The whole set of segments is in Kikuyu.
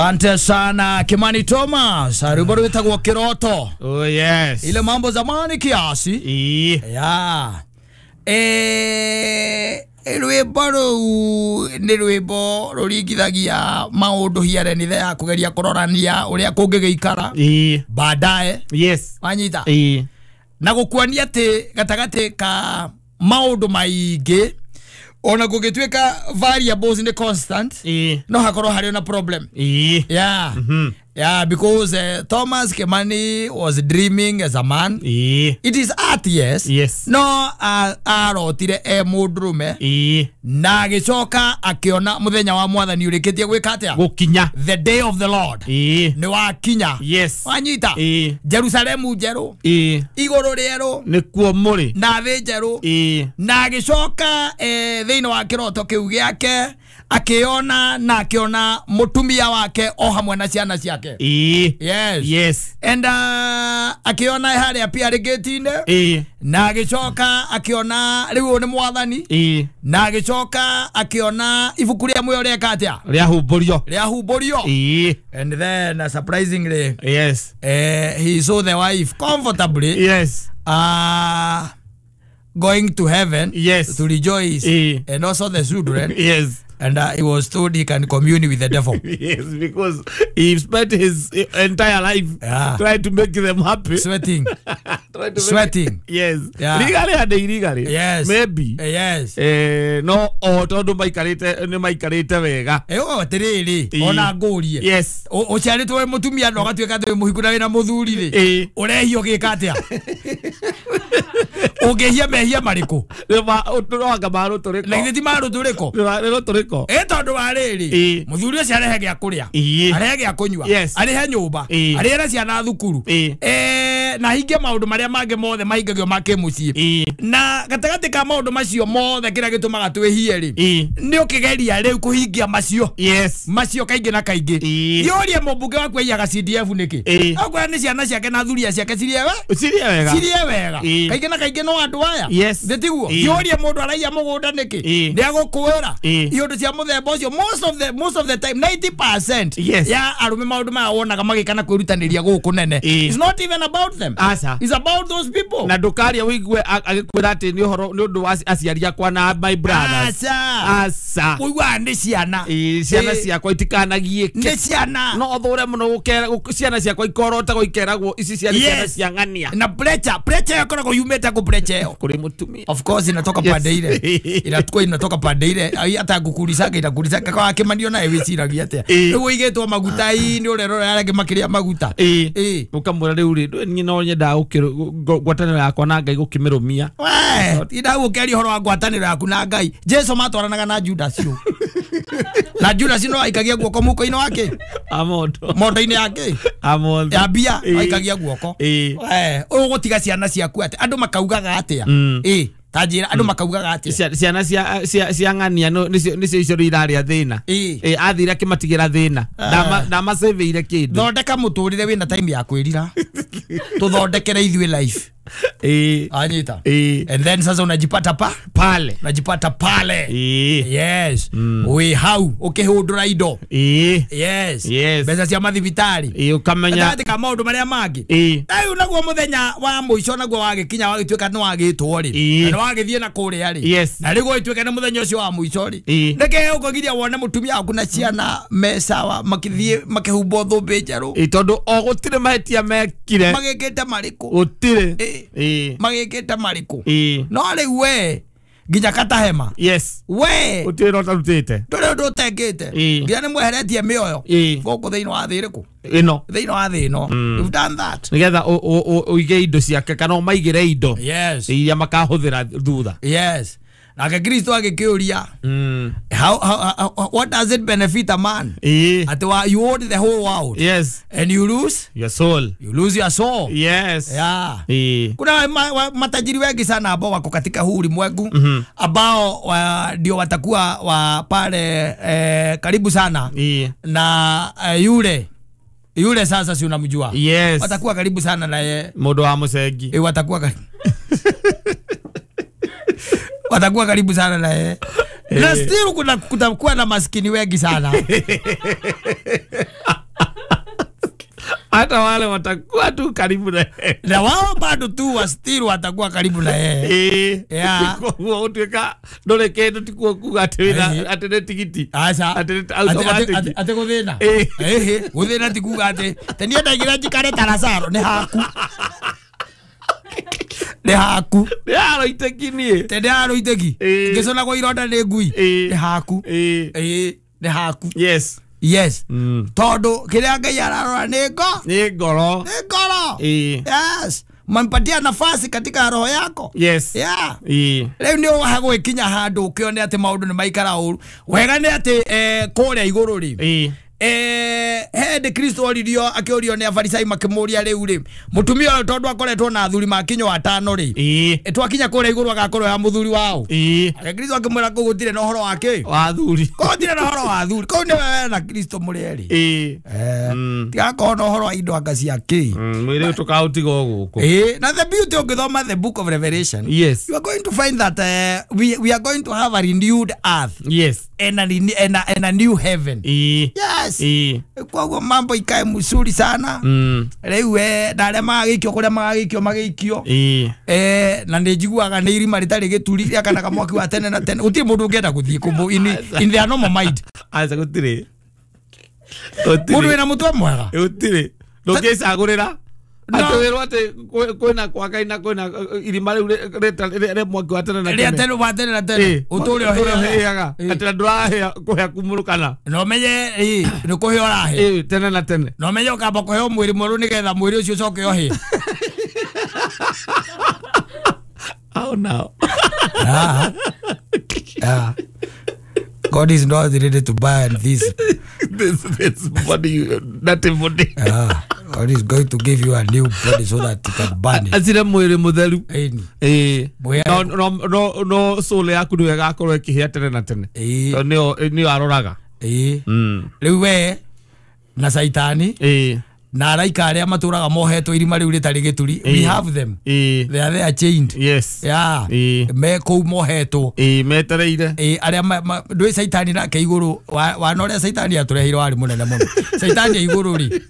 Asante sana Kimani Thomas, rwimbo rwitagwo Kiroto. Oh yes. Ile mambo zamani kiasi. Yeah. Rwimbo rũu nĩ rwimbo rũringithagia maũndũ hiarenithe ya kũgeria kũrorania ũrĩa kũngĩgĩikara baadaye. Yes. Wanyita. Na gũkuonia atĩ gatagatĩ ka maũndũ maingĩ ona kũngĩtuĩka variables nĩ constant, no hakorwo harĩ na problem. Yeah. Yeah, because Thomas Kimani was dreaming as a man. It is art, yes. Yes. No arotire e mũndũrũme. Na agĩcoka akĩona mũthenya wa mwathani ũrĩkĩtie gwĩka atĩa? Gũkinya. The day of the Lord. Nĩ wakinya. Yes. Wanyita. Jerusalemu njerũ. Igũrũ rĩerũ. Nĩkuo mũrĩ. Na thĩ njerũ. Na agĩcoka thĩinĩ wa kĩroto kĩu gĩake akiona na akiona mutumia wake o hamwe na ciana ciake. Yes. Yes. And akiona haria pia gate-inĩ. Na agicoka akiona riu ni mwathani. Na agicoka akiona ibuku ria muoyo reka atia? Riahumbũrio. Riahumbũrio. And then surprisingly, yes, he saw the wife comfortably. Yes. Going to heaven. Yes. To rejoice. And also the children. Yes. And he was told he can commune with the devil. Yes, because he spent his entire life trying to make them happy. Sweating. Sweating. Yes. Yeah. Legally and illegally. Yes. Maybe. Yes. No, o tondu maikarite ni maikarite wega. Ego atiriri ona ngurie. Yes. Uciaritwo mutumia no gatuika ati muhiku na wina muthuri ri. Urehio gika atia? Ungehia mehia mariku? Anga maruturiko. Na githĩ ti maruturiko? Nĩ ruturiko. Tondu wa rĩrĩ muthuri ũcio arehe gĩa kũrĩa, arehe gĩa kũnyua, arehe nyũmba, arehe ciana thukuru, na hingie maũndũ marĩa mangĩ mothe mahingagio ma kĩmũciĩ. Na gatagatĩ ka maũndũ macio mothe kĩrĩa gĩtũmaga twĩhie rĩ nĩ ũkĩgeria rĩu kũhingia macio. Yes. Macio kaingĩ na kaingĩ. Yũrie mũmbunge waku aiyaga CDF nĩkĩ? Akwĩra nĩ ciana ciake na thuria ciake cirĩe wega. Cirĩe wega. Kaingĩ na kaingĩ no andũ aya. Yes. Thĩ tiguo? Yũrie mũndũ araiya mũgũnda nĩkĩ? Nĩ agũkwĩra. Iũndũ cia mũthemba ũcio most of the time 90% yes, ya arũme maũndũ maya wonaga magĩka na kwĩrutanĩria gũkũ nene. It's not even about them. Asa. It's about those people. Na ndũkaria ũigue agĩkwĩra atĩ nĩ ũhoro nĩ ũndũ wa aciari akwa na my brothers. Asa. Asa. Ũiguaga nĩ ciana. Ciana ciakwa itikanagiĩke. Nĩ ciana. No thũre mũno ciana ciakwa ikorotagwo ikeragwo ici ciana ciana cia ng'ania. Na pressure ĩkoragwo yumĩte kũ pressure ĩyo? Kũrĩ mũtumia. Of course inatoka pande ile. Inatukua inatoka pande ile. Hata ngukurisaka itakurisaka kwa Kimani naye wiciragia atia? Rĩu ũigĩtwo maguta-inĩ ũrerora arĩa angĩ makĩrĩa maguta. Ũkamwĩra rĩu rĩ niĩ no nyendaga ngwatanĩro yakwa na Ngai gũkĩmĩrũmia. We tinda gũkĩaria ũhoro wa ngwatanĩro yaku na Ngai. Jesu matwaranaga na Judas ũ. Na Judas no aikagia guoko mũhuko-inĩ wake. Amondo. Mondo-inĩ yake. Amondo. Ya mbia aikagia guoko. We ũgũtiga ciana ciaku atĩa? Andũ makaugaga atĩa? Tajira andu makaugaga atia? Ciana cia ng'ania nicio icio iraria thina. Athire akimatigira thina. Ndamaceveire kindu. Thondeka muturire wina time ya kwirira. Tuthondekere ithuĩ life. Anyita. And then sasa unajipata pale. Unajipata pale. Yes. We hau ukihundura indo. Yes. Yes. Mbeca cia mathibitari. Ukamenya gatagatĩ ka maũndũ marĩa mangĩ. Rĩu naguo mũthenya wa mũico naguo wagĩkinya wagĩtuĩka nĩ wagĩtwo rĩ. Na wagĩthiĩ na kũrĩa rĩ. Yes. Na rĩu gũgĩtuĩka nĩ mũthenya ũcio wa mũico rĩ. Nĩkĩ ũkũgiria wone mũtumia waku na ciana me sawa makĩthiĩ makĩhumbwo thũmbĩ njerũ. Tondũ o gũtirĩ mahĩtia mekire. Magĩkĩte marĩkũ? Gũtirĩ. Magĩkĩte marĩkũ? No rĩu we nginya katahema. Yes. We gũtirĩ na ũtarutĩte. Ndũrĩ ũndũ ũtekĩte. Nginya nĩ mweheretie mĩoyo gũkũ thĩinĩ wa thĩ ĩrĩkũ? Ĩno. Thĩinĩ wa thĩ ĩno. You've done that. Nĩgetha ũige indo ciake kana ũmaigĩre indo. Yes. Iria makahũthĩra thutha. Yes. Nake Kristo agĩkĩũria, how what does it benefit a man? Ati you own the whole world. Yes. And you lose your soul. You lose your soul. Yes. Yeah. Kuna matajiri wengi sana ambao wako katika huu ulimwengu ambao ndio watakuwa wa pale karibu sana na yule sasa si unamjua. Yes. Watakuwa karibu sana na ye. Mũndũ wa mũcengi. Watakuwa karibu. Watakuwa karibu sana na yeye. Na still kuna kutakuwa na maskini wengi sana. Hata wale watakuwa tu karibu na yeye. Na wao bado tu wastiri watakuwa karibu na yeye. Yeah. Koguo utuika ndore kindu tikuo kuga ati wina ati ni tigiti. Aca. Ati automatic. Ati guthina. Guthina ti kuga ati tenie ndagira njikare ta Lazaro ni haku. Ni haku. Ni haro iteki nie. Tene haro iteki. Ngiconagwo ironda ni ngui. Ni haku. Ni haku. Yes. Yes. Tondu kiria Ngai ararora ni ngoro. Ni ngoro. Yes. Mampatia nafasi katika roho yako. Yes. Yeah. Rĩu nĩ ũhagwĩkinya handũ ũkĩone atĩ maũndũ nĩ maikara ũru. Wega nĩ atĩ kũrĩa igũrũ rĩ. Hĩndĩ Kristo oririo akĩũrio nĩ Afarisai makĩmũria rĩu rĩ mũtumia ũyũ tondũ akoretwo na athuri makinywo atano rĩ twakinya kũrĩa igũrũ agakorwo ya mũthuri wao. Ake Kristo akĩmwĩra kũu gũtirĩ na ũhoro wa kĩ? Wa athuri. Kũu gũtirĩ na ũhoro wa athuri. Kũu nĩ wewe na Kristo mũrĩ erĩ. Tigakorwo na ũhoro wa indo anga cia kĩ. Mwĩrĩ tũkaũtiga o gũkũ. Na the beauty ũngĩthoma the book of Revelation. Yes. You are going to find that we are going to have a renewed earth. Yes. And a new heaven. Yes. Koguo mambo ikae mzuri sana. Rĩu na arĩa magagĩikio kũrĩa magagĩikio magĩikio. Na nĩ njiguaga nĩ irima rĩtarĩ gĩturi rĩakanaga mwaki wa tene na tene. Gũtirĩ mũndũ ũngĩenda gũthiĩ kũmũ in their normal mind. Aca gũtirĩ. Mũndũ wĩna mũtwe mwega. Gũtirĩ. Ndũngĩcagũrĩra. Atĩ wĩrwo atĩ kwĩna kwa Ngai na kwĩna irima rĩu rĩa mwaki wa tene na tene. Rĩa tene wa tene na tene. Ũtũre ũhĩaga. Atĩ na ndũrahĩa kũhĩa kumũrũkana. Na ũmenye nĩ kũhĩa ũrahĩa. Tene na tene. Na ũmenye ũkamba kũheo mwĩrĩ mwerũ nĩgetha mwĩrĩ ũcio ũcoke ũhĩe. Oh no. God is not ready to burn this. This body, not a body. God is going to give you a new body so that you can burn it. Atire mwĩrĩ mũtheru. No no soul yaku nĩyo ĩgakorwo ĩkĩhĩa tene na tene. Tondũ nĩyo aroraga. Rĩu we na Saitani na araika arĩa matũraga mohetwo irima rĩu rĩtarĩ gĩturi. We have them. They are there chained. Yes. Yeah. Me kũu mohetwo. Metereire. Arĩa ndũĩ Saitani nake igũrũ wana ũrĩa Saitani atũreheire warĩ mũnene mũno. Saitani igũrũ rĩ.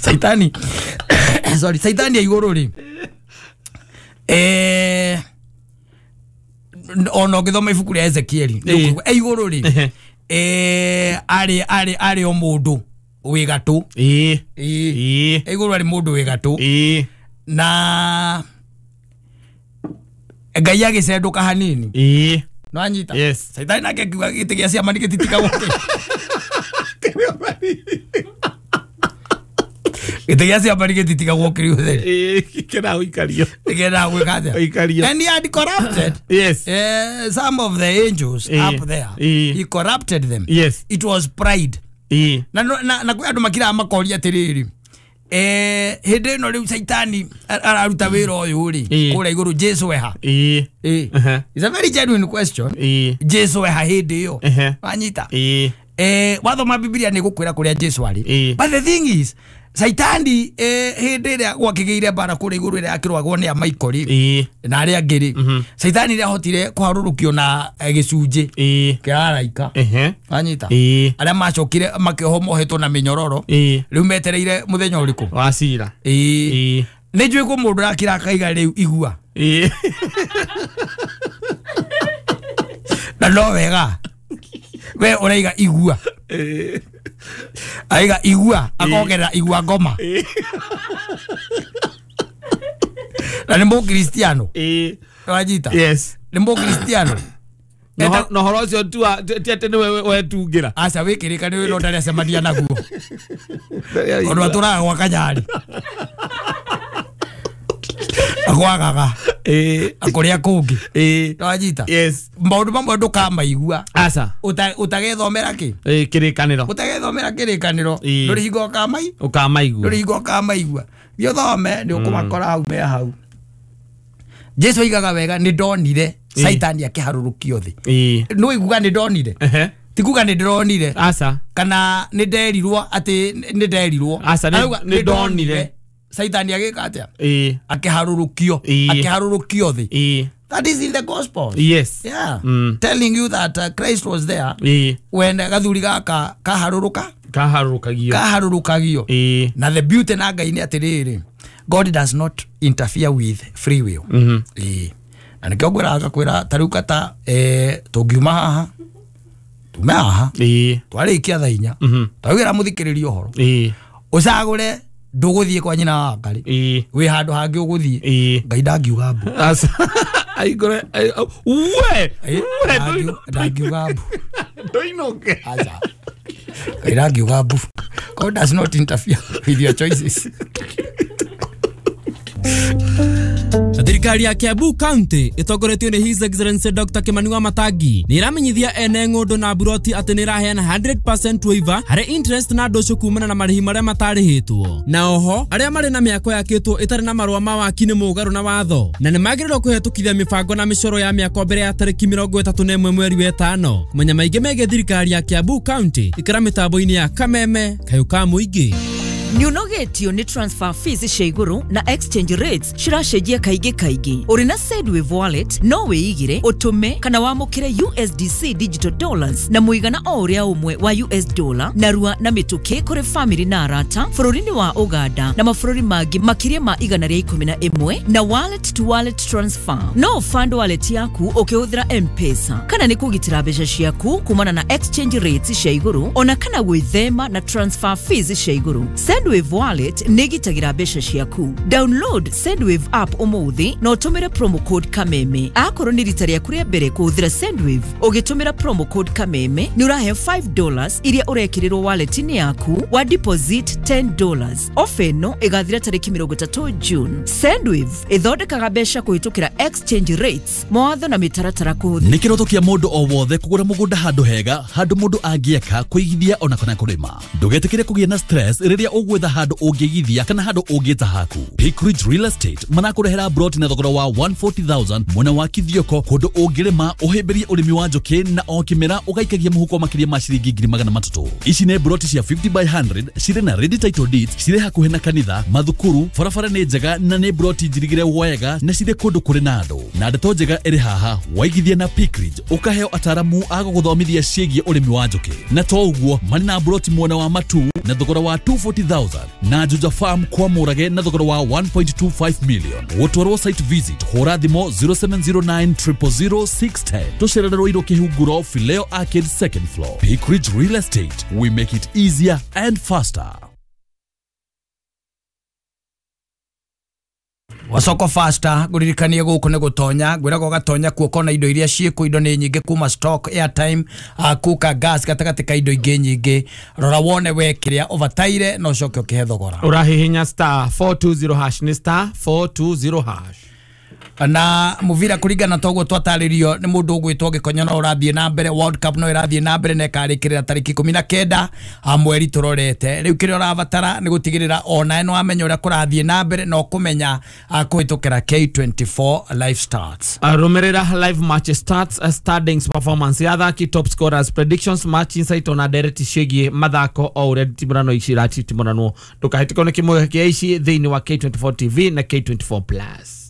Saitani sorry, Saitani igũrũ rĩ. Ona ũngĩthoma ibuku rĩa Ezekieli igũrũ rĩ. Arĩ o mũndũ wĩ gatũ. Igũrũ arĩ mũndũ wĩ gatũ. Na Ngai agĩcendũka hanini. No anyita. Yes. Saitani nake akiuga gĩtĩ gĩa ciama nĩgĩtitigagwo. Gĩtĩ gĩa ciama nĩgĩtitigagwo kĩrĩ ũtheri. Kĩna ũikario. Kĩna gwĩka atĩa? Ũikario. And he had corrupted. Yes. Some of the angels up there. He corrupted them. Yes. It was pride. Na kwĩ andũ makiraga makoria atĩrĩrĩ. Hĩndĩ ĩno rĩu Saitani araruta wĩra ũyũ rĩ kũrĩa igũrũ Jesu eha. It's a very genuine question. Jesu eha hĩndĩ ĩyo. Wanyita. Wathoma Biblia nĩ gũkwĩra kũrĩa Jesu arĩ. But the thing is Saitani hĩndĩ ĩrĩa gwakĩgĩire mbara kũrĩa igũrũ ĩrĩa akĩrũagwo nĩ Amaikori na arĩa angĩ rĩ Saitani nĩahotire kũharũrũkio na gĩcunjĩ kĩa araika. Wanyita. Arĩa macokire makĩohwo mohetwo na mĩnyororo rĩu metereire mũthenya ũrĩkũ wa cira. Nĩ njũĩ kwĩ mũndũ ũrakira akaiga rĩu igua. Na no wega we ũraiga igua. Aiga igua akongerera igua ngoma. Na nĩ mũkristiano. Wanyita. Yes. Nĩ mũkristiano. Na ũhoro ũcio ti atĩ nĩwe wetungĩra. Aca wĩkĩrĩka nĩ wĩra ũtarĩ acemania naguo. Tondũ atũraga gwa Kanyari. Agwagaga. Akũrĩa kũngĩ. Wanyita. Yes. Maũndũ mamwe ndũkamaigua. Aca. Ũtagethomera kĩ? Kĩrĩkanĩro. Ũtagethomera kĩrĩkanĩro. Ndũrĩ hingo ũkamaigua. Ndũrĩ hingo ũkamaigua. Thiĩ ũthome nĩ ũkũmakora hau me hau. Jesu oigaga wega nĩ ndonire Saitani akĩharũrũkio thĩ. Nĩ ũiguaga nĩ ndonire. Ti kuga nĩ ndĩronire. Aca. Kana nĩ nderirwo atĩ nĩ nderirwo. Aca nĩ ndonire. Saitani agĩka atĩa? Akĩharũrũkio. Akĩharũrũkio thĩ. That is in the gospel. Yes. Yeah. Telling you that Christ was there when gathuri gaka kaharũrũka. Kaharũrũkagio. Kaharũrũkagio. Na the beauty na Ngai nĩ atĩrĩrĩ, God does not interfere with free will. Ĩĩ. Na nĩkĩo ngwĩraga ngakwĩra ta rĩu kata tũngiuma haha tume haha twarĩkia thaa 4 twaugĩra mũthikĩrĩria ũhoro ũcagũre ndũgũthiĩ kwa nyina wa Ngai wĩ handũ hangĩ ũgũthiĩ Ngai ndangiuga mbu. Aigore we ndangiuga mbu ndoinoke. Aca Ngai ndangiuga mbu. God does not interfere with your choices. Thirikari ya Kiambu County ĩtongoretio nĩ His Excellency Dr. Kimani Wamatangi nĩ ĩramenyithia ene ng'ũndũ na buroti atĩ nĩ ĩraheana 100% waiver harĩ interest na ndũcũ kumana na marĩhi marĩa matarĩhĩtwo. Na oho arĩa marĩ na mĩako yakĩtwo ĩtarĩ na marũa ma waki nĩ mũgarũ na watho na nĩ magĩrĩirwo kũhetũkithia mĩbango na mĩcoro ya mĩako mbere ya tarĩki 31 mweri wa 5. Kũmenya maingĩ megiĩ thirikari ya Kiambu County ikara mĩtambo-inĩ ya Kameme kayũ ka mũingĩ. Nĩũnogetio nĩ transfer fees cia igũrũ na exchange rates ciracenjia kaingĩ kaingĩ. Ũrĩ na Sendwave wallet no wĩigire, ũtũme kana wamũkĩre USDC digital dollars na mũigana o ũrĩa ũmwe wa US dollar narua na mĩtũkĩ kũrĩ family na arata bũrũri-inĩ wa Uganda na mabũrũri mangĩ makĩria ma 111 na wallet to wallet transfer. No fund wallet yaku ũkĩhũthĩra M-Pesa kana nĩ kũgitĩra mbeca ciaku kumana na exchange rates cia igũrũ ona kana gwĩthema na transfer fees cia igũrũ. Sendwave wallet nĩ ĩgitagĩra mbeca ciaku. Download Sendwave app ũmũthĩ na ũtũmĩre promo code Kameme. Akorwo nĩ rita rĩaku rĩa mbere kũhũthĩra Sendwave ũgĩtũmĩra promo code Kameme nĩ ũraheo $5 iria ũrekĩrĩrwo wallet-inĩ yaku wa deposit $10. Ofa ĩno ĩgathira tarĩki 30 June. Sendwave ĩthondekaga mbeca kũhĩtũkĩra exchange rates, mawatho na mĩtaratara kũhũthĩra. Nĩ kĩroto kĩa mũndũ o wothe kũgũra mũgũnda handũ hega, handũ mũndũ angĩaka, kũigithia ona kana kũrĩma. Ndũgetĩkĩre kũgĩa na stress rĩrĩa ũgwetha handũ ũngĩigithia kana handũ ũngĩta haku. Peak Ridge Real Estate marakũrehera broti na thogora wa 140,000 mwena wa Kithioko, kũndũ ũngĩrĩma ũhĩmbĩrie ũrĩmi wa njũkĩ na o kĩmera ũgaikagia mũhuko makĩria ma ciringi 300,000. Ici nĩ broti cia 50 by 100 cirĩ na ready title deeds, cirĩ hakuhĩ na kanitha, mathukuru, barabara nĩ njega na nĩ broti njirigĩre wega na cirĩ kũndũ kũrĩ na andũ. Na ndeto njega ĩrĩ haha, waigithia na Peak Ridge ũkaheo ataramu a gũgũthomithia ciĩgiĩ ũrĩmi wa njũkĩ. Na to ũguo marĩ na broti mwena wa Matu na thogora wa 240,000 na Juja Farm kwa Mũrage na thogora wa 1.25 million. Gũtwarwo site visit hũra thimũ 0709 000 610. Tũcerere Ruiru Kĩhunguro, Fileo Arcade second floor. Peak Ridge Real Estate, we make it easier and faster. Wasoko faster nguririkanie guku ni gutonya ngwiraga ugatonya kuo kona indo iria ciĩkũ indo nĩ nyingĩ kuma stock airtime kuka gas gatagatĩ ka indo ingĩ nyingĩ. Rora wone we kĩrĩa ũbataire na ũcoke ũkĩhe thogora. Ũrahihinya star 420 hash nĩ star 420 hash. Na muvira kuringana toguo twatarĩrio nĩ mũndũ ũgwĩtwo Gĩkonyo no ũrathiĩ na mbere World Cup no ĩrathiĩ na mbere na ĩkarĩkĩrĩra tarĩki 19 mweri tũrorete. Rĩu kĩrĩa ũrabatara nĩ gũtigĩrĩra ona nĩ wamenya ũrĩa kũrathiĩ na mbere na ũkũmenya kũhĩtũkĩra K24 live starts. Rũmĩrĩra live match starts, standings, performance ya athaki, top scorers, predictions, match insight ona ndereti ciĩgiĩ mathako o ũrĩa nditimũrano ici iratitimũranwo. Ndũkahĩtĩkwo nĩ kĩmwe kĩa ici thĩinĩ wa K24 TV na K24 Plus.